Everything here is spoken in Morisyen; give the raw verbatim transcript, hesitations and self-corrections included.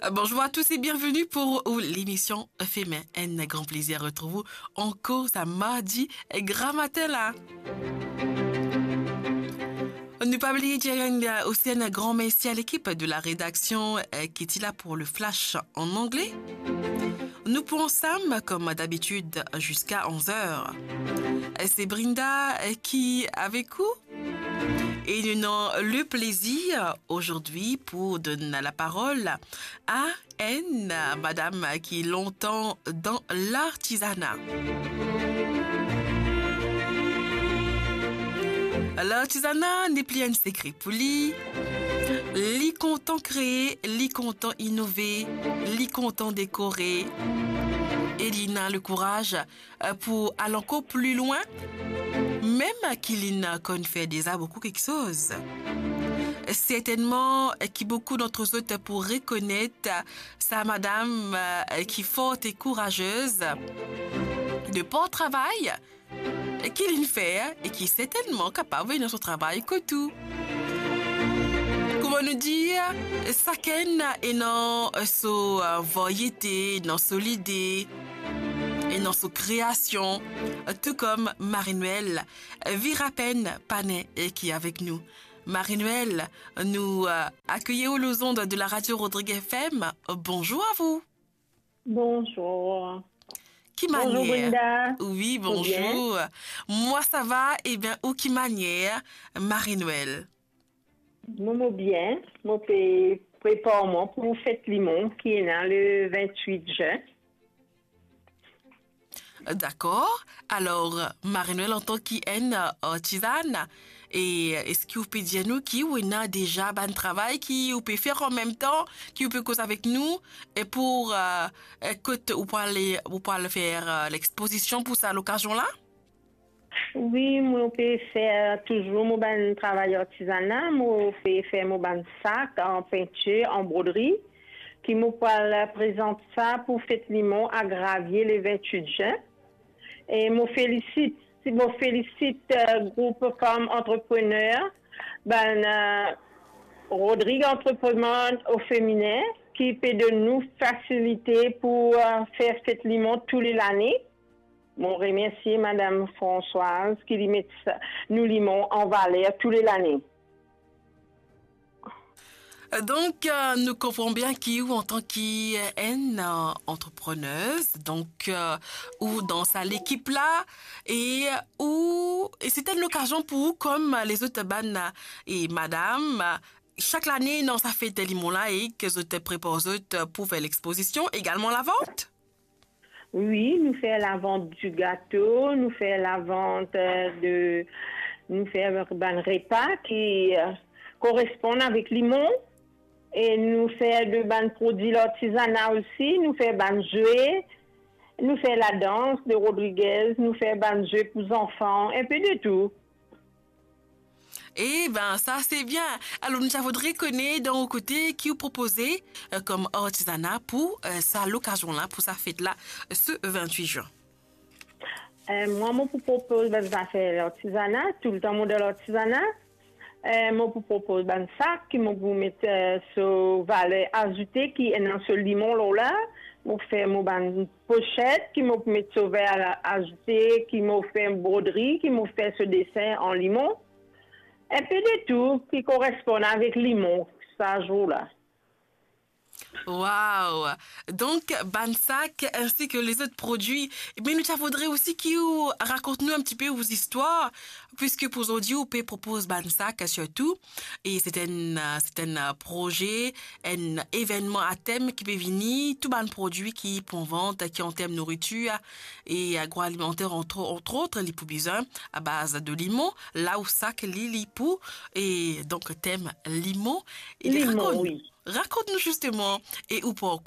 Bonjour à tous et bienvenue pour, euh, l'émission Femin. Un grand plaisir de retrouver encore sa mardi gramatin là. Nou pa bliye dir enn, euh, osi enn gran mersi a lekip de la redaksyon, euh, ki ti la pou le flash an angle. Nou pou ansam, kom dabitid, ziska onz er. Se Brinda, euh, ki avek ou. E nou ena le plezir azordi pou donn laparol a enn madam ki lontan dan lartizana. Lartizana nepli enn sekre pou li. Li kontan kree, li kontan inove, li kontan dekore. E li ena lekouraz euh, pou al ankor pli lwin, mem ki linn konn fer deza boukou kiksoz. Sertennman, euh, ki boukou dant zot pou rekonet, euh, sa madam, euh, ki for e kourazez, de par travay, euh, ki linn fer e ki sertennman kapav ena so travay kot ou. Kouma nou dir, sakenn ena so, euh, varyete, ena so lide, ena so kreasion, tou kom Marie-Noëlle Virapen Panin, euh, ki avek nou. Marie-Noëlle, nou, euh, akeyir ou lor zond de la radio Rodrigue F M. Bonjour à vous. Bonjour. Ki manier? Bonjour, Brenda. Wi, bonjour. Mwa sava, ebien, ou ki manier, Marie-Noëlle? Mo, mo bien, mo pe prepar mwa pou fet limon ki ena le vintwit zin. Dakor. Alor, Marie-Noëlle, antan ki enn, euh, artizan, e eski ou pe dir nou ki ou ena deza bann travay ki ou pe fer an mem tan, ki ou pe koz avek nou, e pou, euh, e kot ou pou ale, ou pou al fer, euh, lexpozision pou sa lokazion la? Wi, mo pe fer touzour mo bann travay artizana, mo pe fer mo bann sak an pintir, an brodri, ki mo pou al prezant sa pou fet limon a Gravie le vintwit zin. E mo felisit, mo felisit, euh, group Fam Antreprener, bann, euh, Rodrigue Entrepreneur au Féminin, ki pe donn nou fasilite pou, euh, fer fet limon tou le lane. Mo remersie Madam Françoise ki li met sa, nou limon an valer tou le lane. Donk, euh, nou konpran bien ki ou antan ki, euh, enn, euh, antreprenez, donk, euh, ou dan sa lekip la, e ou, e se enn lokazion pou ou kom lezot bann, e madam, sak lane dan sa fet limon la e ki zot prepar zot pou fer lexpozision, egalman lavant? Wi, nou fer lavant di gato, nou fer lavant, euh, de, nou fer bann repa ki, euh, koresponn avek limon, e nou fer de bann prodwi lartizana osi, nou fer bann zwe, nou fer ladans de Rodriguez, nou fer bann zwe pou zanfan, enpe de tou. E ben, sa se bien. Alor, nou ti a voudre kone dan ou kote ki ou propoze, euh, kom artizana pou, euh, sa lokazion la, pou sa fet la, se vintwit zin. Euh, mwa, mo pou propoz bann zafer lartizana, toultan mo dan lartizana. Euh, mo pou propoz bann sak ki mo pou met, euh, so valer azoute ki ena so limon lor la. Mo fer mo bann poset ki mo pou met so valer azoute, ki mo fer brodri, ki mo fer so desen an limon. Enpe de tou ki koresponn avek limon sa zour la. Wow! Donk, bann sak, ensi ki lezot prodwi. Me nou ti a voudre osi ki ou rakont nou enn tipe ou zistwar, piski pou zordi ou pe propoz bann sak, sirtou. E se enn, se enn proze, enn evennman a tem ki pe vini, tou bann prodwi ki pou vant, ki an term nouritir e agroalimanter, entre, entre autres, li pou bizin, a baz de limon, la ou sak li, li pou, e donk tem limon. E limon, rakont, wi. Rakont nou zisteman, e ou parkour,